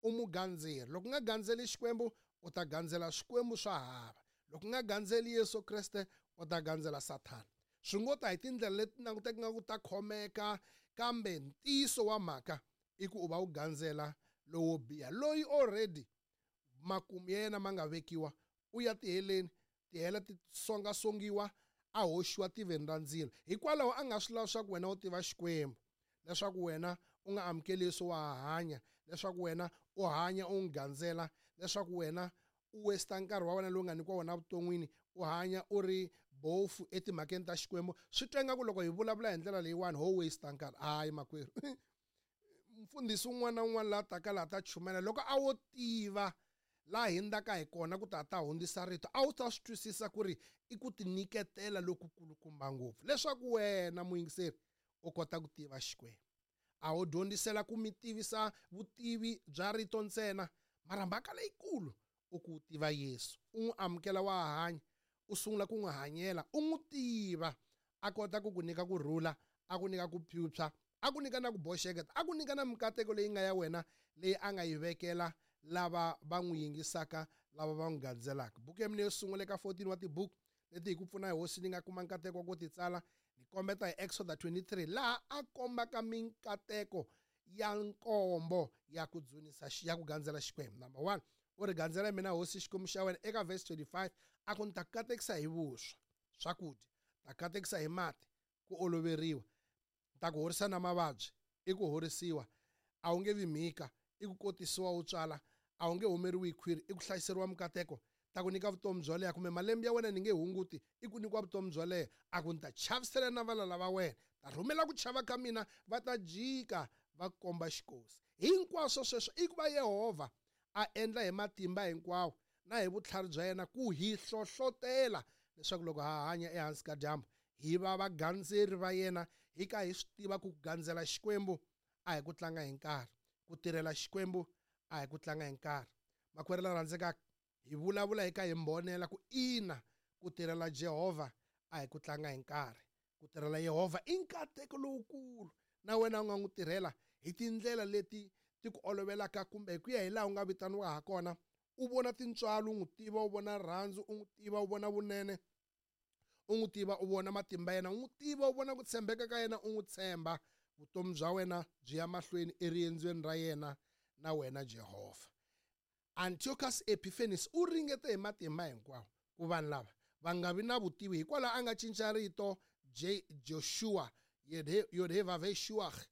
U mugandzeri. Loko u nga gandzeli Xikwembu, u ta gandzela swikwembu swa hava. Loko u nga gandzeli Yesu Kreste, u ta gandzela Sathana. Swi ngo ta hi tindlela leti languteka nga ku ta khomeka, kambe ntiyiso wa mhaka i ku u va u gandzela lowo biha, loyi already makumu ya yena ma nga vekiwa, u ya tiheleni, tihele ti songasongiwa, a hoxiwa tiveni ra ndzilo. Hikwalaho a nga swi lavi swa ku wena u tiva Xikwembu, leswaku wena u nga amukeli Yesu wa ha hanya, leswaku wena u hanya u n'wi gandzela, leswaku wena u waste nkarhi wa wena lowu nga nyikiwa wona evuton'wini, u hanya u ri bofu etimhakeni ta Xikwembu. Swi twa ingaku loko hi vulavula hi ndlela leyiwani ho waste nkarhi. Hayi makwerhu, mfundhisi un'wana na un'wana la taka laha ta chumela, loko a wo tiva laha hindzaka hi kona ku ta ta hundzisa rito, a wu ta swi twisisa ku ri i ku tinyiketela lokukulukumba ngopfu leswaku wena muyingiseri u kota ku tiva Xikwembu. A wu dyondzisela ku mi tivisa vutivi bya rito ntsena, mara mhaka leyikulu u ku tiva Yesu, u n'wi amukela wa hanya, u sungula ku n'wi hanyela, u n'wi tiva, a kota ku ku nyika ku rhula, a ku nyika ku phyuphya, a ku nyika na ku boxeketa, a ku nyika na mikateko leyi nga ya wena leyi a nga yi vekela lava va n'wi yingisaka, lava va n'wi gandzelaka. Buku ya mina yo sungula eka 14 wa tibuku leti hi ku pfuna hi hosi ni nga kuma nkateko wa ku ti tsala, ni kombeta hi Exoda 23, laha a kombaka minkateko ya nkombo ya ku dzunisa, ya ku gandzela Xikwembu. Number 1, u ri gandzela mina hosi Xikwembu xa wena. Eka verse 25 a ku ni ta katekisa hi vuswa, swakudya, ta katekisa hi mati, ku oloveriwa, ta ku horisa na mavabyi, i ku horisiwa, a wu nge vi mhika, i ku kotisiwa wu tswala, a wu nge humeriwi hi khwiri, i ku hlayiseriwa mikateko, ta ku nyika vutomi byo leha, kumbe malembe ya wena ni nge hunguti, i ku nyikiwa vutomi byo leha. A ku ni ta chavisela na valala va wena, ta rhumela ku chava ka mina, va ta jika va komba xikosi. Hinkwaswo sweswo i ku va Yehovha a endla hi matimba hinkwawo na hi vutlhari bya yena ku hi hlohlotela leswaku loko ha hanya ehansi ka dyambu hi va vagandzeri va yena, hi ka hi swi tiva ku gandzela Xikwembu a hi ku tlanga hi nkarhi, ku tirhela Xikwembu a hi ku tlanga hi nkarhi. Makwerhu la rhandzekaka, hi vulavula hi ka hi mbonela ku ina, ku tirhela Jehovha a hi ku tlanga hi nkarhi. Ku tirhela Yehovha i nkateko lowukulu, na wena u nga n'wi tirhela hi tindlela leti ti ku olovelaka kumbe hi ku ya hi laha u nga vitaniwa ha kona. U vona tintswalo, u n'wi tiva, u vona rirhandzu, u n'wi tiva, u vona vunene, u n'wi tiva, u vona matimba yena, u n'wi tiva, u vona ku tshembeka ka yena, u n'wi tshemba. Vutomi bya wena byi ya mahlweni eriendzweni ra yena na wena Jehovha. Antiochus Epiphanes u ringete hi matimba hinkwawo ku vanhu lava va nga vi na vutivi, hikwalaho a nga cinca rito J Joshua Yodhevaveshuach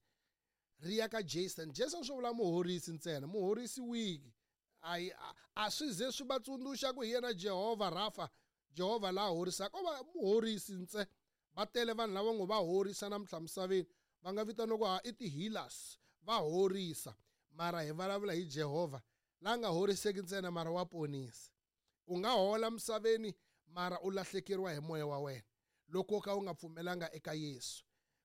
ri ya ka Jason. Jason swi vula muhorisi ntsena, muhorisi wiki. Ai, a swi ze swi va tsundzuxa ku hi yena Jehovha Rafa, Jehovha la horisaka, o va muhorisi ntse. Va tele vanhu lava ngo va horisa namuntlha misaveni, va nga vitaniwa ku ha i ti-healers, va horisa. Mara hi vulavula hi Jehovha la nga horiseki ntsena, mara wa ponisa. U nga hola misaveni mara u lahlekeriwa hi moya wa wena loko ka u nga pfumelanga eka Yesu.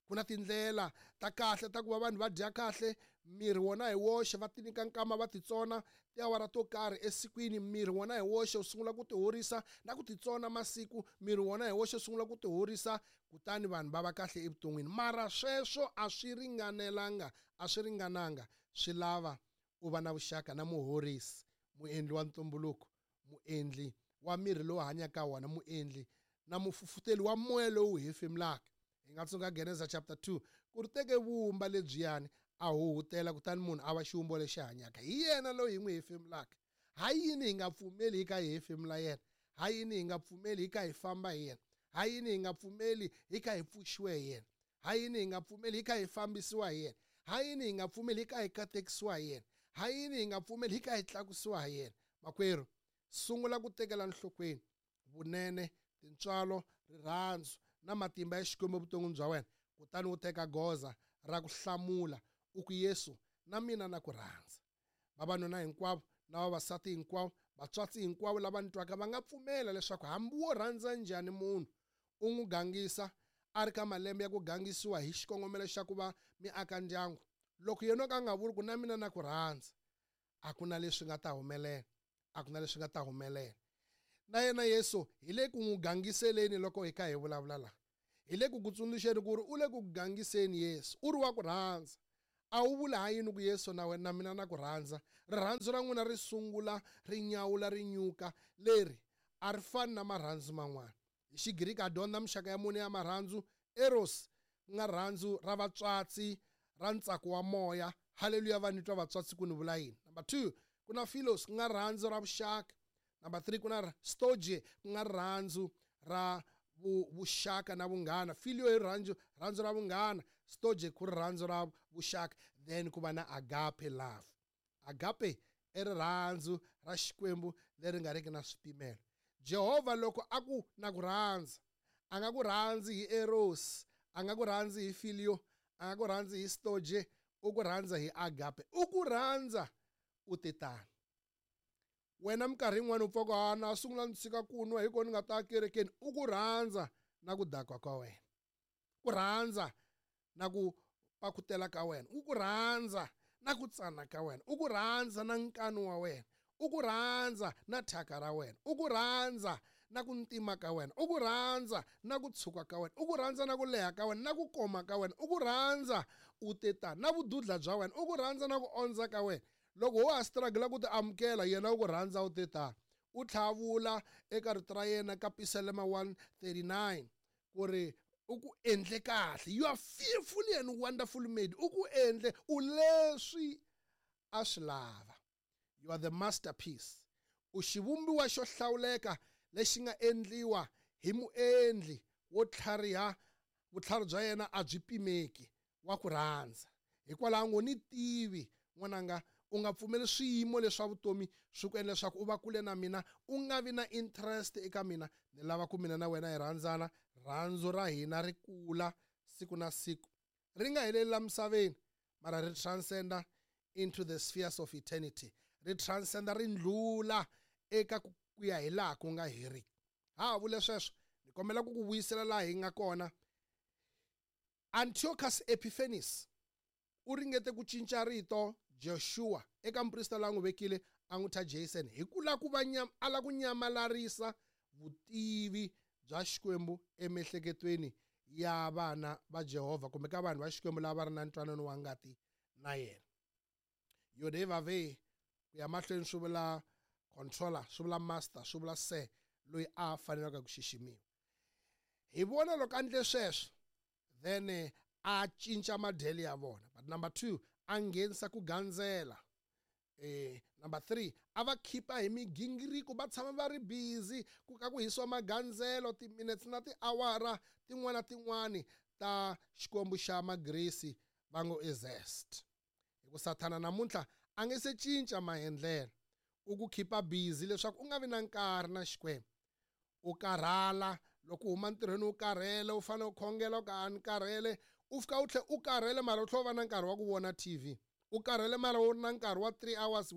Ku na tindlela ta kahle ta ku va vanhu va dya kahle, miri wona hi woxe, va tinyika nkama, va titsona tiawara to karhi esikwini, miri wona hi woxe wu sungula ku tihorisa na ku titsona masiku, miri wona hi woxe wu sungula ku tihorisa, kutani vanhu va va kahle evuton'wini. Mara sweswo a swi ringanelanga, a swi ringananga, swi lava u va na vuxaka na muhorisi, muendli wa ntumbuluko, muendli wa miri lowu hanyaka wona, muendli na mufufuteli wa moya lowu hefemulaka. Hi nga tsundzuka Genesa chapter 2, ku ri teke vumba lebyiyani a huhutela, kutani munhu a va xivumbo lexi hanyaka. Hi yena loyi hi n'wi hefemulaka. Ha yini hi nga pfumeli hi ka hi hefemula yena? Ha yini hi nga pfumeli hi ka hi famba hi yena? Ha yini hi nga pfumeli hi ka hi pfuxiwe hi yena? Ha yini hi nga pfumeli hi ka hi fambisiwa hi yena? Ha yini hi nga pfumeli hi ka hi katekisiwa hi yena? Ha yini hi nga pfumeli hi ka hi tlakusiwa hi yena? Makwerhu, sungula ku tekela nhlokweni vunene, tintswalo, rirhandzu na matimba ya Xikwembu evuton'wini bya wena, kutani u teka goza ra ku hlamula u ku, Yesu, na mina na ku rhandza. Vavanuna hinkwavo na vavasati hinkwavo, vatswatsi hinkwavo lava ni twaka va nga pfumela leswaku hambi wo rhandza njhani munhu, u n'wi gangisa a ri ka malembe ya ku gangisiwa hi xikongomelo xa ku va mi aka ndyangu, loko yena o ka a nga vuli ku na mina na ku rhandza, a ku na leswi nga ta humelela, a ku na leswi nga ta humelela. Na yena Yesu hi le ku n'wi gangiseleni loko hi kha hi vulavula laha. Hi le ku ku tsundzuxeni ku ri u le ku gangiseni Yesu, u ri wa ku rhandza. A wu vula ha yini ku Yesu na wena na mina na ku rhandza? Rirhandzu ra n'wina ri sungula ri nyawula ri nyuka. Leri a ri fani na marhandzu man'wana. Hi Xigriki ha dyondza mixaka ya mune ya marhandzu, eros, ku nga rirhandzu ra vatswatsi, ra ntsako wa moya. Haleluya, va ni twa vatswatsi ku ni vula yini. Number 2, ku na philos, ku nga rirhandzu ra vuxaka. Number 3, ku na storge, ku nga rirhandzu ra vuxaka na vunghana. Filio i rirhandzu ra vunghana, storge ku rirhandzu ra vuxaka. Then ku va na agape love. Agape i rirhandzu ra Xikwembu leri nga riki na swipimelo. Jehovha loko a ku na ku rhandza, a nga ku rhandzi hi eros, a nga ku rhandzi hi filio, a nga ku rhandzi hi storge, u ku rhandza hi agape. U ku rhandza u te tano. Wena minkarhi yin'wana u pfa ku, ha, na sungula ni tshika ku nwa hi ko ni nga ta kerekeni. U ku rhandza na ku dakwa ka wena, ku rhandza na ku pakutela ka wena, u ku rhandza na ku tsana ka wena, u ku rhandza na nkanu wa wena, u ku rhandza na thyaka ra wena, u ku rhandza na ku ntima ka wena, u ku rhandza na ku tshuka ka wena, u ku rhandza na ku leha ka wena, na ku koma ka wena, u ku rhandza u te tani, na vududla bya wena, u ku rhandza na ku ondza ka wena. Loko wo ha struggle ku ti amukela, yena u ku rhandza u te tani. U tlhavula eka rito ra yena ka Pisalema 139 ku ri u ku endle kahle. You are fearfully and wonderfully made. U ku endle u leswi a swi lava. You are the masterpiece. U xivumbiwa xo hlawuleka lexi nga endliwa hi muendli wo tlhariha. Vutlhari bya yena a byi pimeki, wa ku rhandza. Hikwalaho ngo ni tivi n'wananga, u nga pfumeli swiyimo leswa vutomi swi ku endla leswaku u va kule na mina, u nga vi na interest eka mina. Ni lava ku mina na wena hi rhandzana, rhandzu ra hina ri kula siku na siku, ri nga heleli la misaveni, mara ri transcenda into the spheres of eternity, ri transcenda ri ndlula eka ku ya hi laha ku nga heriki. Ha vule sweswo, ni kombela ku ku vuyisela laha hi nga kona. Antiochus Epiphanes u ringete ku cinca rito Joshua eka muprista loyi a n'wi vekile a n'wi thya Jason, hi ku lava ku va a lava ku nyamalarisa vutivi bya Xikwembu emiehleketweni ya vana va Jehovha kumbe ka vanhu va Xikwembu lava va ri na ntwanano wa ngati na yena. Yodevave ku ya mahlweni swi vula controller, swi vula master, swi vula sir, loyi a fanelaka ku xiximiwa. Hi vona loko a endle sweswo, then a cinca madyelo ya vona. But number 2, a nghenisa ku gandzela. Number 3, a va khipa hi migingiriko, va tshama va ri busy ku ka ku hisiwa magandzelo timinutes na tiawara tin'wana tin'wani ta xikwembu xa Magrisi va ngo i Zest. Hi ku Sathana namuntlha a nge se cinca maendlelo, u ku khipa busy leswaku u nga vi na nkarhi na Xikwembu. U karhala loko u huma ntirhweni, u karhele, u fanele u khongela, u ka a ni karhele, u fika u tlhe u karhele mara u tlhe u va na nkarhi wa ku vona TV. U karhele mara u ri na nkarhi wa 3 hours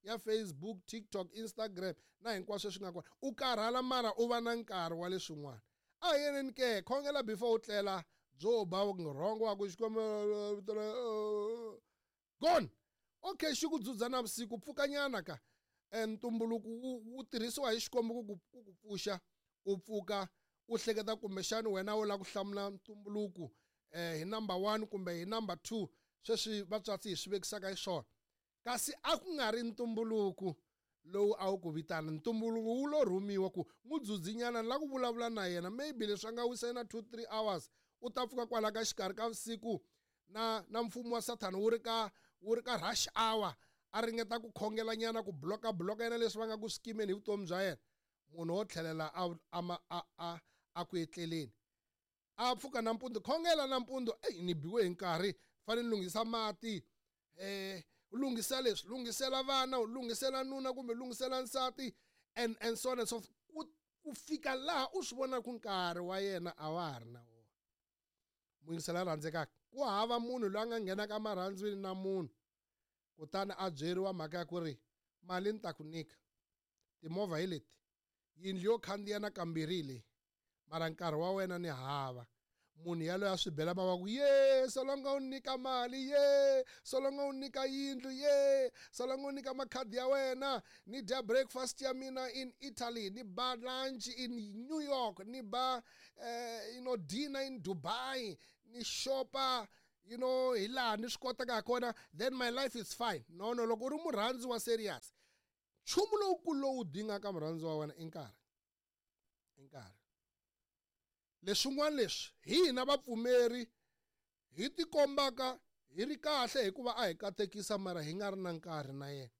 ya Facebook, TikTok, Instagram na hinkwaswo leswi nga kona. U karhala mara u va na nkarhi wa leswin'wana. A hi yeneni ke, khongela before u tlela, byo ba rhongo wa ku Xikwembu gone. Okay, xi ku dzudza na vusiku, pfukanyana ka. Ntumbuluko wu tirhisiwa hi Xikwembu ku ku pfuxa, u pfuka u hleketa kumbexani wena u lava ku hlamula ntumbuluko hi number 1 kumbe hi number 2, sweswi vatswatsi hi swi vekisaka hi swona. Kasi a ku nga ri ntumbuluko lowu a wu ku vitana, ntumbuluko wu lo rhumiwa ku n'wi dzudzinyana, ni lava ku vulavula na yena, maybe leswi a nga wisa yena 2-3 hours, u ta pfuka kwala ka xikarhi ka vusiku na mfumo wa Sathana wu ri ka rush hour, a ringeta ku khongela nyana, ku bloka bloka yena leswi va nga ku skimeni hi vutomi bya yena. Munhu wo tlhelela a ku etleleni, a pfuka nampundzu, khongela nampundzu, ey, ni biwe hi nkarhi, fanele ni lunghisa mati, u lunghisa leswi, lunghisela vana, u lunghisela nuna kumbe lunghisela nsati, and so on and so forth. Ku fika laha u swi vona ku nkarhi wa yena a wa ha ri na wona. Muyingisela rhandzekaka, ku hava munhu loyi a nga nghenaka marhandzwini na munhu kutani a byeriwa mhaka ya ku ri mali ni ta ku nyika, timovha hi leti, yindlu yo khandziya na kambirhi hi leyi, mara nkarhi wa wena ni hava. Munhu yaloye a swi bela mavoko, ye solonga u nyika mali, ye solonga u nyika yindlu, ye solonga u nyika makhadi ya wena, ni dya breakfast ya mina in Italy, ni ba lunch in New York, ni ba dinner in Dubai, ni shopa. you know hi laha ni swi kotaka ha kona, then my life is fine. No, no, loko u ri murhandzi wa serious, nchumu lowukulu lowu dingaka murhandzi wa wena i nkarhi. I nkarhi. Leswin'wana leswi hi hina vapfumeri hi tikombaka hi ri kahle hikuva a hi katekisa, mara hi nga ri na nkarhi na yena.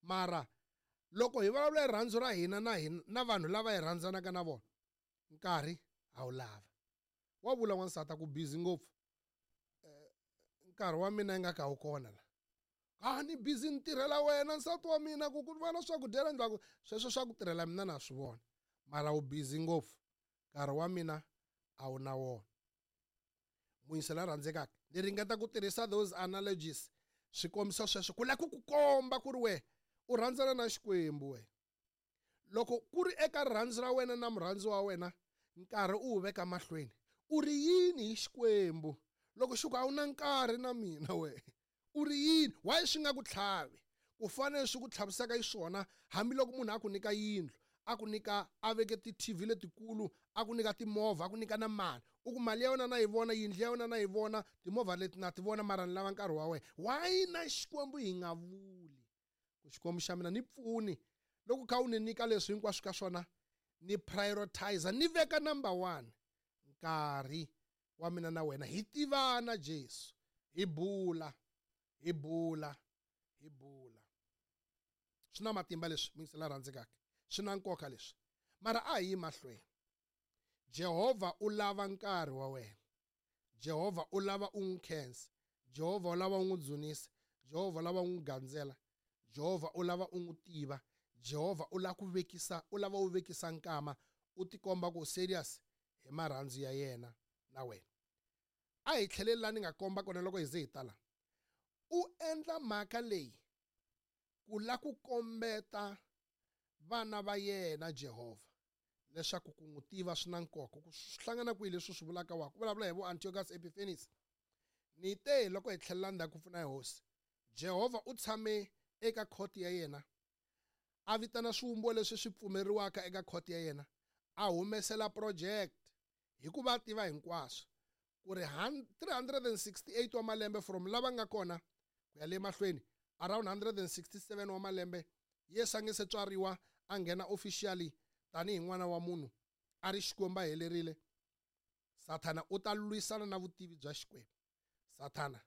Mara loko hi vulavula rirhandzu ra hina na hina na vanhu lava hi rhandzanaka na vona, nkarhi a wu lava. Wa vula wansati a ku busy ngopfu, nkarhi wa mina ingaku a wu kona la. A ni busy ni tirhela wena nsati wa mina, ku ku va na swakudya la ndlaku, sweswo swa ku tirhela mina na swi vona, mara wu busy ngopfu, nkarhi wa mina a wu na wona. Muyingiseri la rhandzekaka, ni ringeta ku tirhisa those analogies, swi kombisa sweswo ku lava ku ku komba ku ri we u rhandzana na Xikwembu. We loko ku ri eka rirhandzu ra wena na murhandzi wa wena, nkarhi u wu veka mahlweni. U ri yini hi Xikwembu loko xi ku a wu na nkarhi na mina? We u ri yini? Why swi nga ku tlhavi ku fanele swi ku tlhavisaka xiswona? Hambiloko munhu a ku nyika yindlu, a ku nyika, a veke ti-TV letikulu, a ku nyika timovha, a ku nyika na mali, u ku mali ya wena na yi vona, yindlu ya wena na yi vona, timovha leti na ti vona, mara ni lava nkarhi wa wena. Why na Xikwembu hi nga vuli ku Xikwembu xa mina ni pfuni, loko kha u ni nyika leswi hinkwaswo ka swona, ni prioritize, ni veka number 1 nkarhi wa mina na wena, hi tivana Jesu, hi bula, hi bula, hi bula. Swi na matimba leswi, muyingiseri la rhandzekaka, swi na nkoka leswi. Mara a hi yi mahlweni. Jehovha u lava nkarhi wa wena. Jehovha u lava u n'wi khensa. Jehovha u lava u n'wi dzunisa. Jehovha u lava u n'wi gandzela. Jehovha u lava u n'wi tiva. Jehovha u lava ku vekisa, u lava u vekisa nkama, u tikomba ku serious hi marhandzu ya yena na wena. A hi tlheleli laha ni nga komba kona loko hi ze hi tala. U endla mhaka leyi ku la ku kombeta vana va yena Jehovha leswaku ku n'wi tiva swi na nkoka. Ku swi hlangana kwihi leswi swi vulaka wa ku vulavula hi vo Antiochus Epiphanes. Ni te loko hi tlhelela ndzhaku pfuna hi hosi, Jehovha u tshame eka khoti ya yena, a vitana swivumbiwa leswi swi pfumeriwaka eka khoti ya yena, a humesela project hikuva a tiva hinkwaswo ku ri 368 wa malembe from lava nga kona ku ya le mahlweni, around 167 wa malembe Yesu a nge se tswariwa a nghena officially tanihi n'wana wa munhu a ri Xikwembu a helerile. Sathana u ta lwisana na vutivi bya Xikwembu. Sathana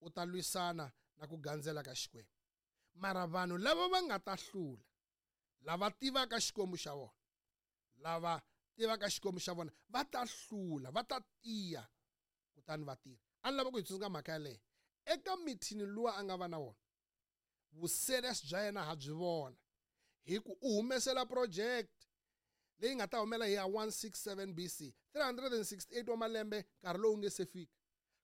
u ta lwisana na ku gandzela ka Xikwembu. Mara vanhu lava va nga ta hlula, lava tivaka Xikwembu xa vona, lava tivaka Xikwembu xa vona va ta hlula, va ta tiya kutani va tirha. A ni lava ku hi tsundzuka mhaka yaleyo eka mithini luwa a nga va na wona. Vuserious bya yena ha byi vona hi ku u humesela project leyi nga ta humela hi ya 167 BC, 368 wa malembe nkarhi lowu nge se fika.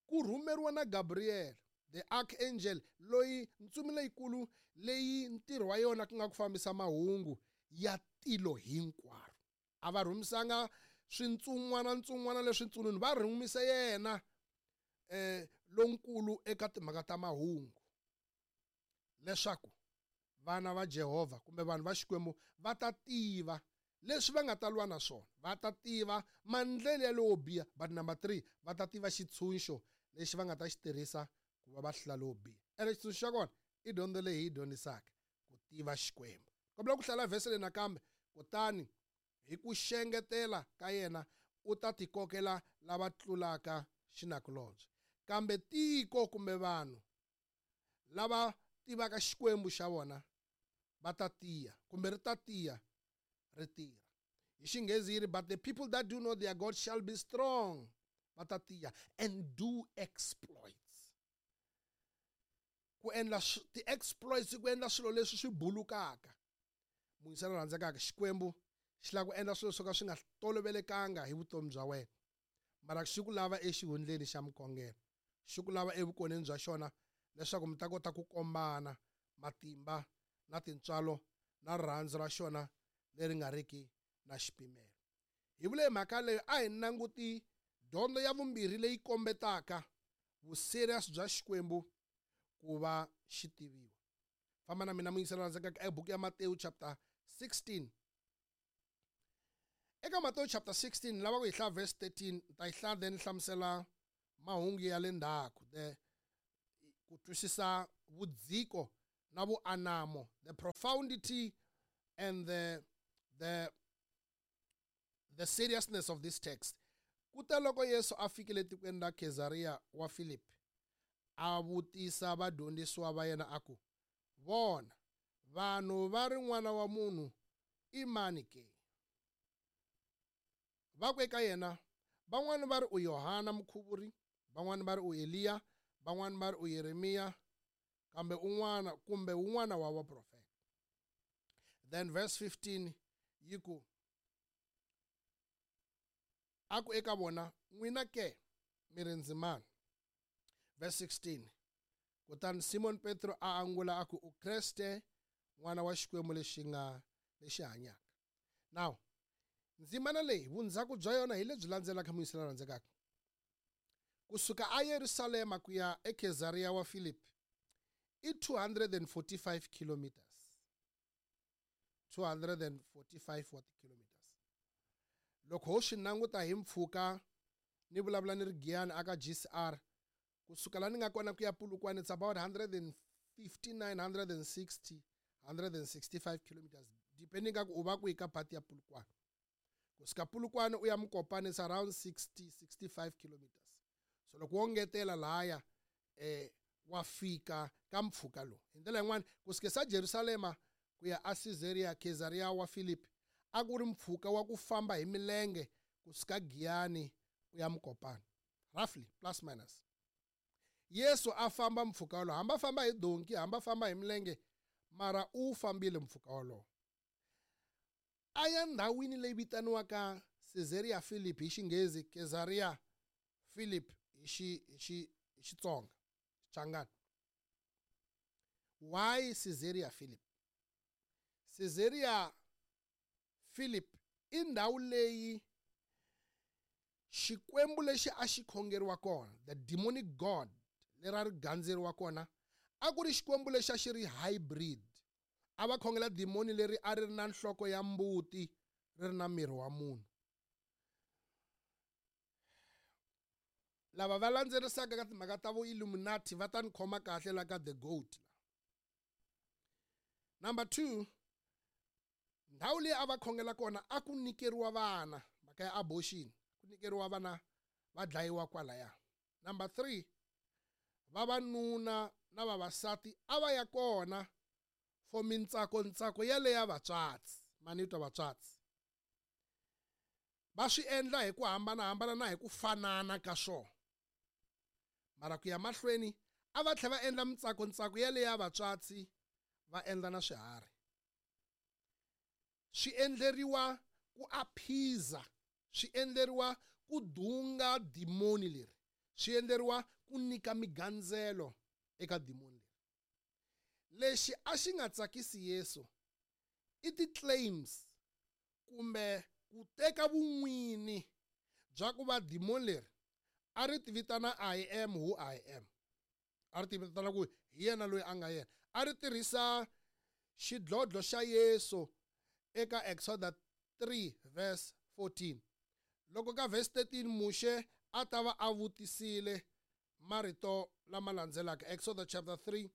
Ku rhumeriwa na Gabriel the archangel, loyi ntsumi leyikulu leyi ntirho wa yona ku nga ku fambisa mahungu ya tilo hinkwaro. A va rhumisanga swintsumwana ntsumwana leswi ntsununi, va rhumise yena lonkulu eka timhaka ta mahungu leswaku vana va Jehovha kumbe vanhu va Xikwembu va ta tiva leswi va nga ta lwa na swona, va ta tiva mandlele ya lowo biha. But number 3, va ta tiva xitshunxo lexi va nga ta xi tirhisa ku va va hlula lowo biha. Ene xitshunxo xa kona i dyondzo leyi hi yi dyondzisaka, ku tiva Xikwembu. Kombela ku hlaya vhese leyi nakambe. Kutani hi ku xengetela ka yena u ta tikokela lava tlulaka xinakulobye. Kambe tiko kumbe vanhu lava tivaka Xikwembu xa vona va ta tiya, kumbe ri ta tiya ri tirha. Hi Xinghezi yi ri, but the people that do know their God shall be strong, va ta tiya and do exploits. Ku endla ti-exploits, ku endla swilo leswi swi bulukaka. Muyingiseri la rhandzekaka, Xikwembu xi lava ku endla swilo swo ka swi nga tolovelekanga hi vutomi bya wena, mara xi ku lava exihundleni xa mukhongelo, xi ku lava evukoneni bya xona leswaku mi ta kota ku kombana matimba na tintswalo na rirhandzu ra xona leri nga riki na xipimelo. Hi vule mhaka leyo, a hi languti dyondzo ya vumbirhi leyi kombetaka vuserious bya Xikwembu ku va xi tiviwa. Famba na mina muyingiseri la rhandzekaka eka buku ya Matewu chapter 16. Eka Matewu chapter 16 lava ku hi hlaya verse 13, ni ta yi hlaya then ni hlamusela mahungu ya le ndzhaku, the ku twisisa vudziko na vuanamo, the profundity and the seriousness of this text. Kute loko Yesu a fikile tikweni ra Caesarea wa Philip, a vutisa vadyondzisiwa va yena a ku, vona, vanhu va ri n'wana wa munhu i mani ke? Va ku eka yena, van'wani va ri u Yohana Mukhuvuri, van'wani va ri u Eliya, van'wani va ri u Yeremiya, kambe un'wana kumbe un'wana wa vaprofeta. Then verse 15 yi ku, a ku eka vona, n'wina ke mi ri ndzi mani? Verse 16, kutani Simon Petro a angula a ku, u Kreste, n'wana wa Xikwembu lexi nga lexi hanyaka. Now, ndzimana leyi vundzhaku bya yona hi lebyi landzelaka muyisi la rhandzekaka. Kusuka a Yerusalema ku ya eCaesarea wa Philip i 245 kilometers. 245 wa kilometers. Loko ho swi languta hi mpfhuka ni vulavula ni ri Giyani aka GCR, kusuka la ni nga kona ku ya Polokwane it's about 159, 160, 165 kilometers, depending ka ku u va kwihi ka part ya Polokwane. Kusuka Polokwane u ya Mokopane it's around 60, 65 kilometers. So loko wo ngetela lahaya wa fika ka mpfhuka lowu. Hi ndlela yin'wana, kusuka sa Jerusalema ku ya a Caesarea, Caesarea wa Philip, a ku ri mpfhuka wa ku famba hi milenge kusuka Giyani u ya Mokopane, roughly plus minus. Yesu a famba mpfhuka wolowo, hamba famba hi donki, hamba famba hi milenge, mara u fambile mpfhuka wolowo. A ya ndhawini leyi vitaniwaka Caesarea Philip hi Xinghezi, Caesarea Philip hi Xitsonga, Xichangani. Why Caesarea Philip? Caesarea Philip i ndhawu leyi Xikwembu lexi a xi khongeriwa kona, the demonic god leri a ri gandzeriwa kona, a ku ri Xikwembu lexi a xi ri hybrid. A va khongela demoni leri a ri ri na nhloko ya mbuti, ri ri na miri wa munhu. Lava va landzerisaka ka timhaka ta vo Illuminati va ta ni khoma kahle la ka the goat. Number 2, ndhawu leyi a va khongela kona a ku nyikeriwa vana, mhaka ya abortion, ku nyikeriwa vana va dlayiwa kwalaya. Number 3, vavanuna na vavasati a va ya kona for mintsako ntsako yaleya vatswatsi, manitwa vatswatsi. Va swi endla hi ku hambanahambana na hi ku fanana ka swona. Mara ku ya mahlweni a va tlhela va endla mintsako ntsako yaleya vatswatsi, va endla na swiharhi. Swi endleriwa ku aphiza, swi endleriwa ku dunga dimoni leri, swi endleriwa ku nyika migandzelo eka dimoni leri. Lexi a xi nga tsakisi Yesu i ti-claims kumbe ku teka vun'wini bya ku va dimoni leri a ri ti vitana I am who I am. A ri ti vitana ku hi yena loyi a nga yena. A ri tirhisa xidlodlo xa Yesu eka Exodus 3 verse 14. Loko ka verse 13 Muxe a ta va a vutisile marito lama landzelaka. Exodus chapter 3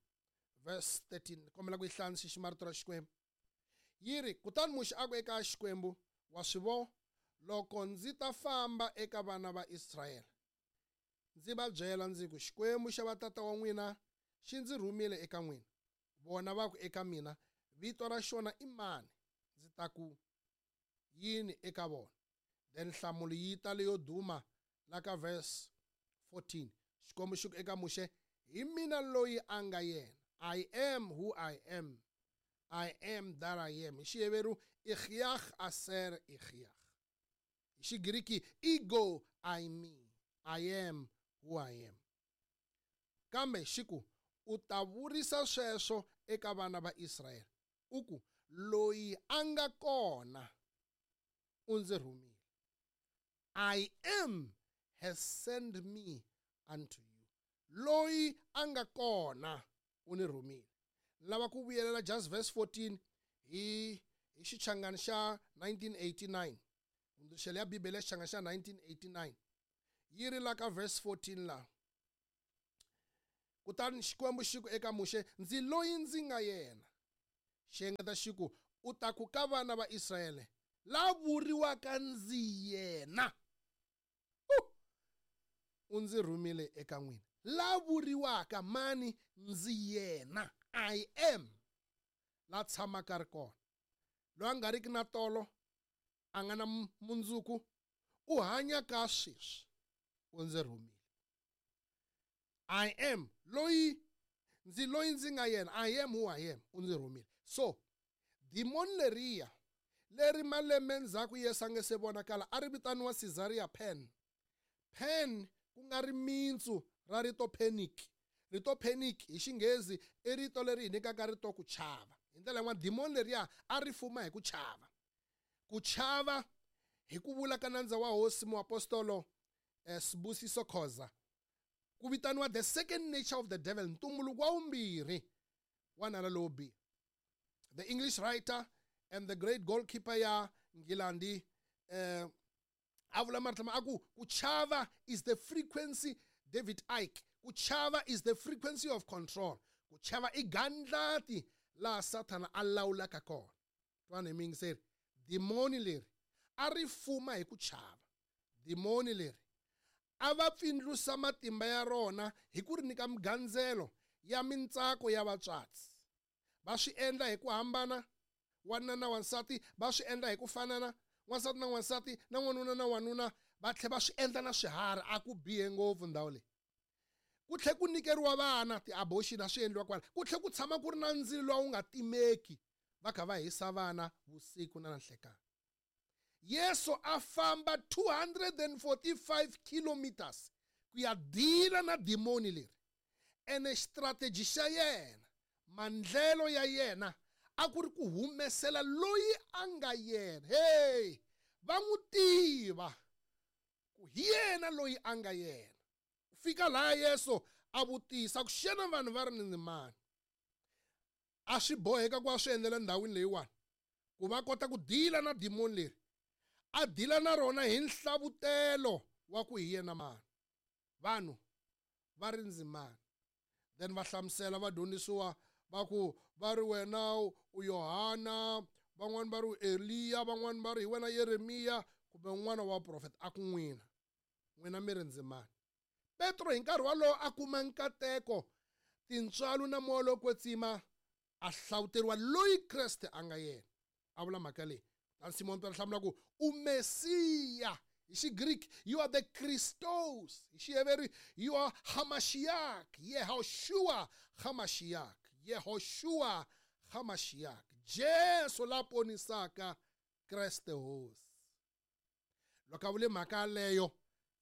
verse 13. Kombela ku yi hlaya ni xixima rito ra Xikwembu. Yi ri, kutani Muxe a ku eka Xikwembu, wa swi vo, loko ndzi ta famba eka vana va Israyele, ndzi va byela ndzi ku, Xikwembu xa vatata wa n'wina xi ndzi rhumile eka n'wina. Vona va ku eka mina, vito ra xona i mani? Ndzi ta ku yini eka vona? Then nhlamulo yi ta leyo duma la ka verse 14. Xikwembu xi ku eka Muxe, hi mina loyi a nga yena. I am who I am. I am that I am. Hi Xiheveru, Ikhyach aser Ikhyach. Hi Xigriki, ego I me. I am who I am. Kambe xi ku, u ta vurisa sweswo eka vana va Israyele. U ku, loyi a nga kona u ndzi rhumile. I am has sent me unto you. Loyi a nga kona u ni rhumile. Lava ku vuyelela just verse 14 hi xichangani xa 1989. Hundzuluxelo ya Bibele ya xichangani xa 1989. Yi ri la ka verse 14 la. Kutani Xikwembu xi ku eka Muxe, ndzi loyi ndzi nga yena. Xi engeta xi ku, u ta ku ka vana va Israyele, la vuriwaka ndzi yena. U ndzi rhumile eka n'wina. La vuriwaka mani ndzi yena. I am. La tshamaka ri kona. Loyi a nga riki na tolo, a nga na mundzuku, u hanya ka sweswi. U ndzi rhumile. I am loyi ndzi loyi ndzi nga yena. I am who I am. U ndzi rhumile. So, dimoni leriya leri malembe ndzhaku Yesu a nge se vonakala a ri vitaniwa Caesarea Pan. Pan ku nga ri mintsu ra rito panic. Rito panic hi xinghezi i rito leri hi nyikaka rito ku chava. Hi ndlela yin'wana dimoni leriya a ri fuma hi ku chava. Ku chava hi ku vula ka nandza wa hosi muapostolo Sibusiso Khoza. Ku vitaniwa the second nature of the devil, ntumbuluko wa vumbirhi wa nala lowo biha. The English writer and the great goalkeeper ya Nghilandi a vula marito lama a ku ku chava is the frequency, David Icke, ku chava is the frequency of control. Ku chava i gandlati laha Sathana a lawulaka kona. Twana hi miyingiseri, dimoni leri a ri fuma hi ku chava. Dimoni leri a va pfindlusa matimba ya rona hi ku ri nyika migandzelo ya mintsako ya vatswatsi. Va swi endla hi ku hambana, wanuna na wansati va swi endla hi ku fanana, wansati na wansati na n'wanuna na wanuna va tlhela va swi endla na swiharhi. A ku bihe ngopfu ndhawu leyi. Ku tlhela ku nyikeriwa vana ti-abortion a swi endliwa kwala. Ku tlhela ku tshama ku ri na ndzilo lowu wu nga timeki, va kha va hisa vana vusiku na nanhlekani. Yesu a famba 245 kilometers ku ya dila na dimoni leri. Ene strategy xa yena, mandlelo ya yena a ku ri ku humesela loyi a nga yena. Hey, va n'wi tiva ku hi yena loyi a nga yena. Ku fika laha Yesu a vutisa ku xana vanhu va ri ni mani. A swi boheka ku a swi endlela ndhawini leyiwani ku va kota ku dila na dimoni leri. A dila na rona hi nhlavutelo wa ku hi yena mani. Vanhu va ri ndzi mani. Then va hlamusela vadyondzisiwa va ku va ri wena u Yohana, van'wani va ri u Eliya, van'wani va ri hi wena Yeremiya kumbe un'wana wa vaprofeta. A ku n'wina, n'wina mi ri ndzi mani. Petro hi nkarhi walowo a kuma nkateko, tintswalo na moya lowo kwetsima, a hlawuteriwa loyi Kreste a nga yena. A vula mhaka leyi. Kutani Simon Petro hlamula ku u Mesiya. Hi Xigriki you are the Christos. Hi Xiheveri you are Hamashiach, Yehoshua Hamashiach, Yehoshua Hamashiach. Jesu la ponisaka Kreste Hosi. Loko a vule mhaka yaleyo,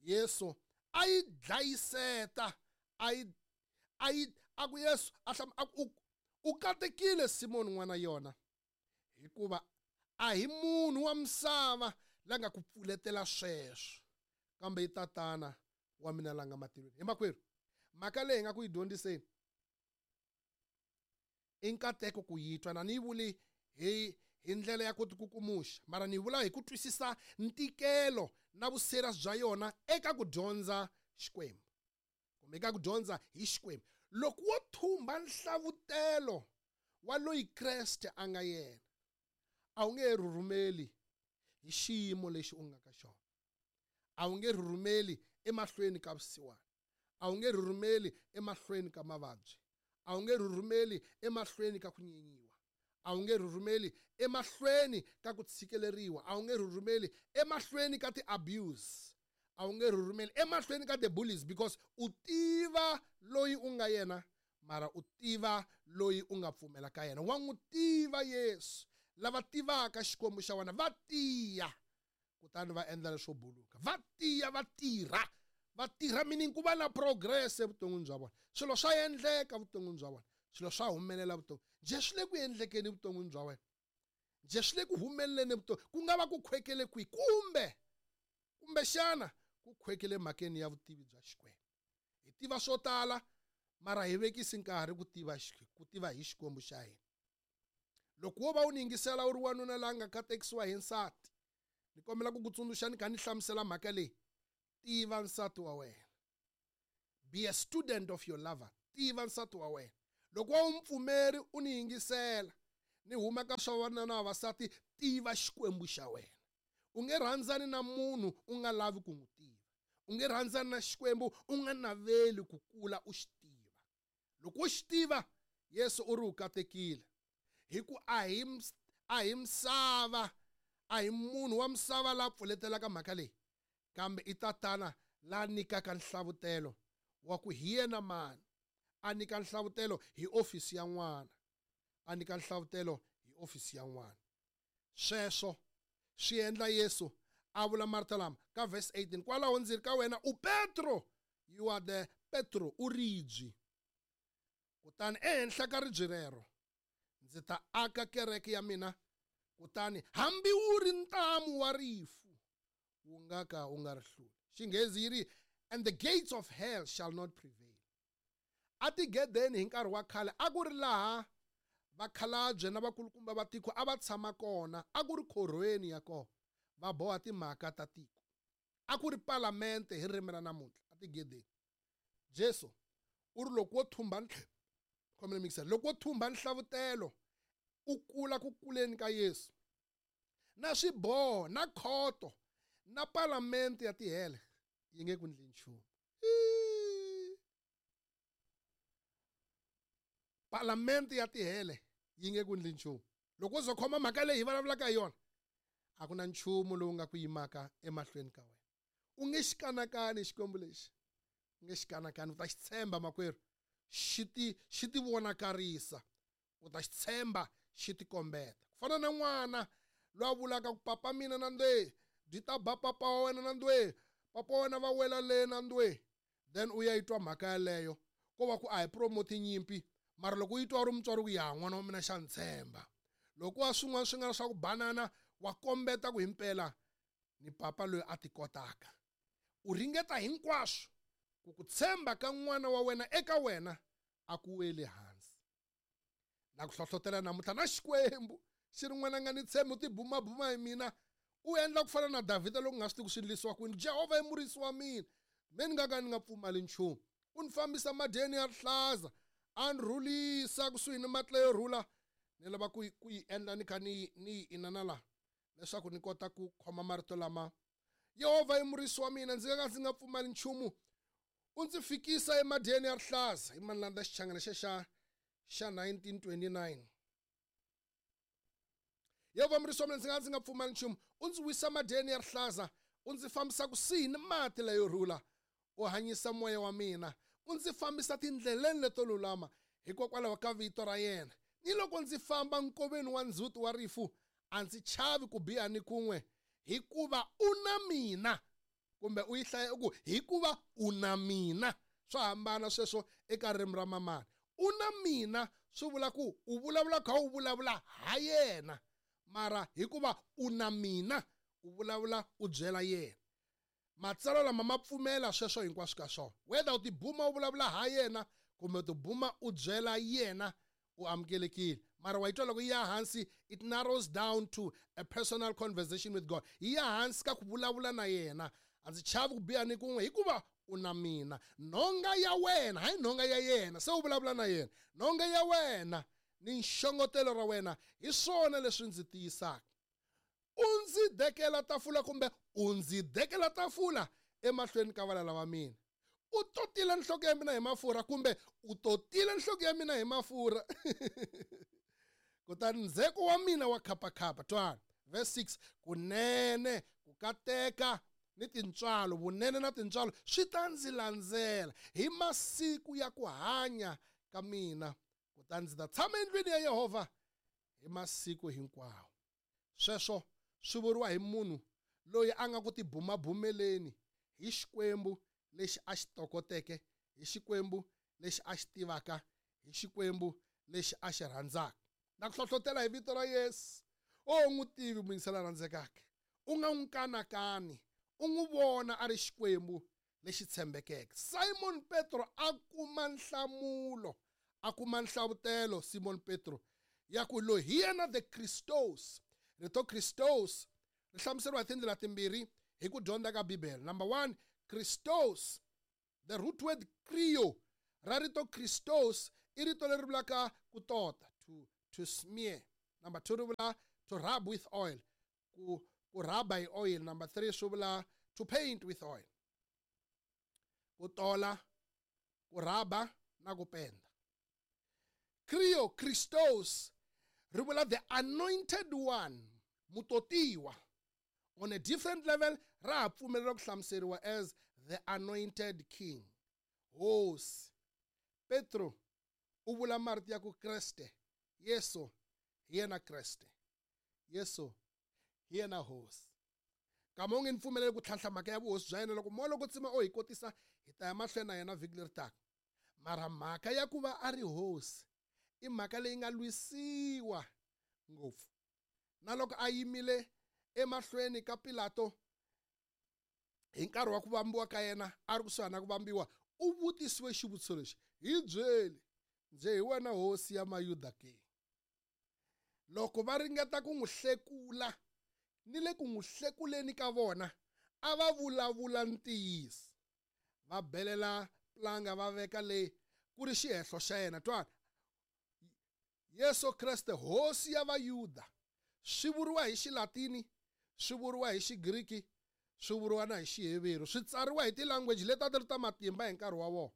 Yesu a yi dlayiseta, a yi a yi a ku Yesu a hlam a ku u katekile Simoni n'wana yona, hikuva a hi munhu wa misava la nga ku pfuletela sweswo, kambe i Tatana wa mina la nga matilweni. Hi makwerhu, mhaka leyi hi nga ku yi dyondziseni i nkateko ku yi twa, na ni yi vuli hi ndlela ya ku tikukumuxa, mara ni vula hi ku twisisa ntikelo na vuserious bya yona eka ku dyondza Xikwembu kumbe eka ku dyondza hi Xikwembu. Loko wo thumba nhlavutelo wa loyi Kreste a nga yena, a wu nge rhurhumeli hi xiyimo lexi u nga ka xona. A wu nge rhurhumeli emahlweni ka vusiwana. A wu nge rhurhumeli emahlweni ka mavabyi. A wu nge rhurhumeli emahlweni ka ku nyenyiwa. A wu nge rhurhumeli emahlweni ka ku tshikeleriwa. A wu nge rhurhumeli emahlweni ka ti-abuse. A wu nge rhurhumeli emahlweni ka the bullies, because u tiva loyi u nga yena, mara u tiva loyi u nga pfumela ka yena. Wa n'wi tiva Yesu. Lava tivaka Xikwembu xa wena va tiya, kutani va endla leswo buluka. Va tiya, va tirha. Va tirha meaning ku va na progress evuton'wini bya vona. Swilo swa endleka evuton'wini bya vona. Swilo swa humelela evuton'wini. Njhe swi le ku endlekeni evuton'wini bya wena? Njhe swi le ku humeleleni evuton'wini? Ku nga va ku khwekele kwihi? Kumbe, kumbexana ku khwekele mhakeni ya vutivi bya Xikwembu. Hi tiva swo tala, mara hi vekisi nkarhi ku tiva hi Xikwembu xa hina. Loko wo va u ni yingisela u ri wanuna la nga katekisiwa hi nsati, ni kombela ku ku tsundzuxa ni kha ni hlamusela mhaka leyi. Tiva nsati wa wena. Be a student of your lover. Tiva nsati wa wena. Loko wa wu mupfumeri u ni yingisela, ni huma ka swa vavanuna na vavasati, tiva Xikwembu xa wena. U nge rhandzani na munhu u nga lavi ku n'wi tiva. U nge rhandzani na Xikwembu u nga naveli ku kula u xi tiva. Loko u xi tiva, Yesu u ri u katekile. Hi ku a hi a hi misava, a hi munhu wa misava la pfuletelaka mhaka leyi, kambe i Tatana la nyikaka nhlavutelo wa ku hi yena mani. A nyika nhlavutelo hi ofisi ya n'wana. A nyika nhlavutelo hi ofisi ya n'wana. Sweswo swi endla Yesu a vula marito lama ka verse 18, kwalaho ndzi ri ka wena u Petro, you are the Petro, u ribye. Kutani ehenhla ka ribye rero ndzi ta aka kereke ya mina, kutani hambi wu ri ntamu wa rifu wu nga ka wu nga ri hluli. Xinghezi yi ri, and the gates of hell shall not prevail. Atigedeni hi nkarhi wa khale a ku ri laha vakhalabye na vakulukumba va tiko a va tshama kona, a ku ri khorhweni ya kona, va boha timhaka ta tiko. A ku ri palamente hi ririmi ra namuntlha atigedeni. Jesu u ri loko wo thumba khomela mixer, loko wo thumba nhlavutelo u kula ku kuleni ka Yesu, na swiboho na khoto na palamente ya tihele yi nge ku ndli nchumu. Palamente ya tihele yi nge ku ndli nchumu. Loko u zo khoma mhaka leyi hi vulavulaka hi yona, a ku na nchumu lowu nga ku yimaka emahlweni ka wena. U nge xi kanakani Xikwembu lexi, u nge xi kanakani, u ta xi tshemba makwerhu, xi ti vonakarisa, u ta xi tshemba, xi ti kombeta. Ku fana na n'wana loyi a vulaka ku papa mina na ndwe, byi ta ba papa wa wena na ndwe, papa wa wena va wela le na ndwe, then u ya yi twa mhaka yaleyo, ko va ku a hi promote nyimpi, mara loko u yi twa u ri mutswari ku ya n'wana wa mina xa ni tshemba. Loko wa swin'wana swi nga swa ku banana, wa kombeta ku himpela ni papa loyi a ti kotaka. U ringeta hinkwaswo ku ku tshemba ka n'wana wa wena eka wena a ku weli hansi. Na ku hlohlotela namuntlha na Xikwembu xi ri n'wana nga ni tshembi, u tibumabuma hi mina, u endla ku fana na Davhida loko nga swi tivi ku swi endlisiwa kwini. Jehovha i murisi wa mina, me ni nga ka ni nga pfumali nchumu. U ni fambisa madyeni ya rihlaza, a ni rhulisa kusuhi ni mati layo rhula. Ni lava ku yi endla ni kha ni yi inana la, leswaku ni kota ku khoma marito lama. Yehovha i murisi wa mina, ndzi nga ka ndzi nga pfumali nchumu. U ndzi fikisa emadyeni ya rihlaza. I mani landza xichangana xa 1929. Yehovha murisi wa mina, ndzi nga ndzi nga pfumali nchumu. U ndzi wisa madyeni ya rihlaza, u ndzi fambisa kusuhi ni mati layo rhula. U hanyisa moya wa mina, u ndzi fambisa tindleleni leto lulama hikokwalaho ka vito ra yena. Ni loko ndzi famba nkoveni wa ndzhuti wa rifu, a ndzi chavi ku biha ni kun'we, hikuva u na mina. Kumbe u yi hlaya u ku hikuva u na mina. Swa hambana sweswo eka ririmi ra mamana. U na mina swi vula ku u vulavula kha u vulavula ha yena, mara hikuva u na mina u vulavula u byela yena. Matsalwa lama ma pfumela sweswo hinkwaswo ka swona. Whether u tibuma u vulavula ha yena kumbe u tibuma u byela yena, u amukelekile. Mara wa yi twa loko yi ya hansi, it narrows down to a personal conversation with God. Yi ya hansi ka ku vulavula na yena. A ndzi chavi ku biha ni kun'we hikuva u na mina. Nhonga ya wena, hayi nhonga ya yena, se u vulavula na yena. Nhonga ya wena ni nxongotelo ra wena hi swona leswi ndzi tiyisaka. U ndzi dekela tafula kumbe u ndzi dekela tafula emahlweni ka valala va mina. U totile nhloko ya mina hi mafurha kumbe u totile nhloko ya mina hi mafurha. Kutani ndzheko wa mina wa khapakhapa. Twana verse 6, kunene ku kateka ni tintswalo, vunene na tintswalo swi ta ndzi landzela hi masiku ya ku hanya ka mina, kutani ndzi ta tshama endlwini ya Yehovha hi masiku hinkwawo. Sweswo swi vuriwa hi munhu loyi a nga ku tibumabumeleni hi Xikwembu lexi a xi tokoteke, hi Xikwembu lexi a xi tivaka, hi Xikwembu lexi a xi rhandzaka. Na ku hlohlotela hi vito ra Yesu. O n'wi tivi muyingisela rhandzekaka, u nga n'wi kanakani, u n'wi vona a ri Xikwembu lexi tshembekeke. Simon Petro a kuma nhlamulo, a kuma nhlavutelo Simon Petro ya ku loyi hi yena the Christos. Rito Christos ri hlamuseriwa hi tindlela timbirhi hi ku dyondza ka Bibele. Number 1, Christos, the root word krio, ra rito Christos i rito leri vulaka ku tota, to smear. Number 2 ri vula to rub with oil, ku rub hi oil. Number 3 swi vula to paint with oil, ku tola, ku raba na ku penda. Krio, Christos, ri vula the anointed one, mutotiwa. On a different level, ra ha pfumelela ku hlamuseriwa as the anointed king, hosi. Petro u vula marito ya ku Kreste, Yesu hi yena Kreste, Yesu hi yena hosi. Kama u nge ni pfumeleli ku tlhantlha mhaka ya vuhosi bya yena, loko moya loko tsima o hi kotisa, hi ta ya mahlweni na yena vhiki leri taka. Mara mhaka ya ku va a ri hosi i mhaka leyi nga lwisiwa ngopfu. Na loko a yimile emahlweni ka Pilato hi nkarhi wa ku vambiwa ka yena, a ri kusuhani na ku vambiwa, u vutisiwe xivutiso lexi: hi byeli, nje hi wena hosi ya Mayuda ke? Loko va ringeta ku n'wi hlekula, ni le ku n'wi hlekuleni ka vona a va vulavula ntiyiso. Va belela planga va veka leyi ku ri xihehlo xa yena. Twana, Yesu Kreste hosi ya Vayuda, swi vuriwa hi Xilatini, swi vuriwa hi Xigriki, swi vuriwa na hi Xiheveru, swi tsariwa hi ti-language leti a ti ri ta matimba hi nkarhi wa vona,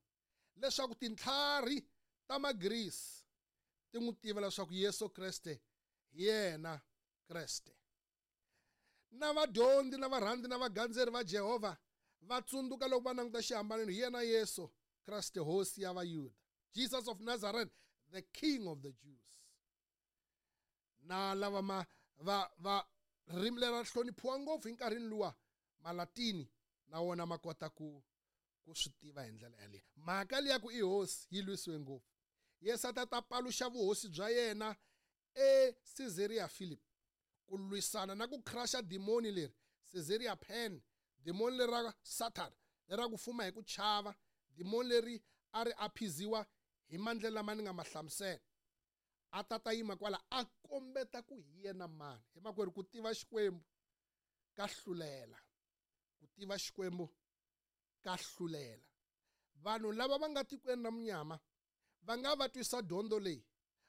leswaku tintlhari ta Magrisi ti n'wi tiva leswaku Yesu Kreste hi yena Kreste. Na vadyondzi na varhandzi na vagandzeri va Jehovha va tsundzuka loko va languta xihambanweni, hi yena Yesu Kreste hosi ya Vayuda, Jesus of Nazareth, the King of the Jews. Na lava ma va va ririmi leri ra hloniphiwa ngopfu hi nkarhini luwa, Malatini na wona ma kota ku swi tiva hi ndlela yaleyo. Mhaka liya ku i hosi yi lwisiwe ngopfu. Yesu a ta paluxa vuhosi bya yena eCaesarea Philip, ku lwisana na ku crusha dimoni leri, Caesarea Pen, dimoni leri ra Satan, leri ra ku fuma hi ku chava, dimoni leri a ri aphiziwa hi mandlela lama ni nga ma hlamusela. A ta yima kwala a kombeta ku hi yena mani. Hi makwerhu, ku tiva Xikwembu ka hlulela, ku tiva Xikwembu ka hlulela. Vanhu lava va nga tikweni ra munyama va nga va twisa dyondzo leyi,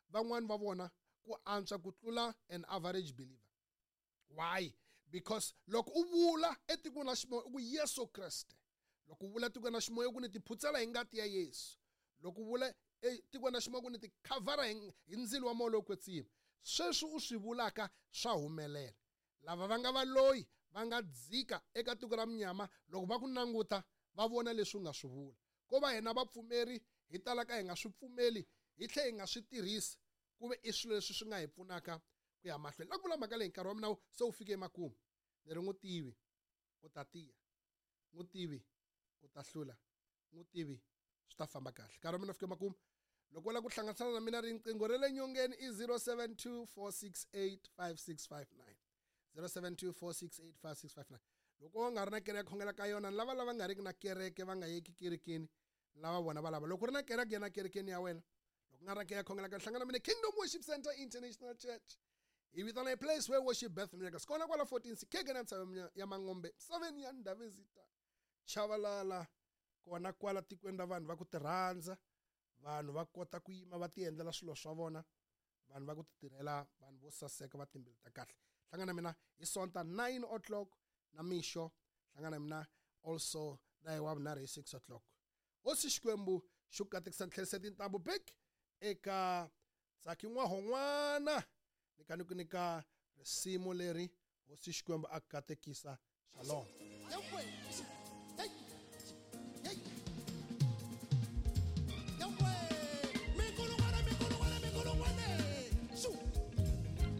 van'wani va vona ku antswa ku tlula an average believer. Why? Because loko u vula etikweni ra ximoya u ku Yesu Kreste, loko u vula etikweni ra ximoya u ku ni tiphutsela hi ngati ya Yesu, loko u vula etikweni ra ximoya ku ni tikhavhara hi ndzilo wa moya lowo kwetsima, sweswi u swi vulaka swa humelela. Lava va nga valoyi va nga dzika eka tiko ra munyama, loko va ku languta va vona leswi u nga swi vula. Ko va hina vapfumeri hi talaka hi nga swi pfumeli, hi tlhe hi nga swi tirhisi, ku ve i swilo leswi swi nga hi pfunaka ku ya mahlweni. La ku vula mhaka leyi, nkarhi wa mina se wu fike emakumu. Ni ri n'wi tivi u ta tiya, n'wi tivi u ta hlula, n'wi tivi swi ta famba kahle. Nkarhi wa mina wu fike emakumu. Loko u lava ku hlanganisana na mina, riqingho ra le nyongeni i 072 468 5659, 072 468 5659. Loko u nga ri na kereke khongela ka yona, lava lava nga riki na kereke va nga yeki kerekeni, lava vona va lava. Loko u ri na kereke, yena kerekeni ya wena. Loko u nga ri na kereke khongela ka hlangana mina Kingdom Worship Center International Church. Hi vitana a place where worship birth miracles. Kona kwala 14 Sikheke na ntshava ya Mangombe, 7 ya Ndhavezita, Chavalala, kona kwala tikweni ra vanhu va ku tirhandza, vanhu va kota ku yima va ti endlela swilo swa vona, vanhu va ku ti tirhela, vanhu vo saseka va timbilu ta kahle. Hlangana mina hi Sonta 9 o'clock na mixo, hlangana mina also na hi wa vunharhu hi 6 o'clock. Hosi Xikwembu xi ku katekisa, tlherisa tintambu back eka Tsaki N'wahon'wana, ni ka ni ku nyika risimu leri. Hosi Xikwembu a katekisa. Shalom.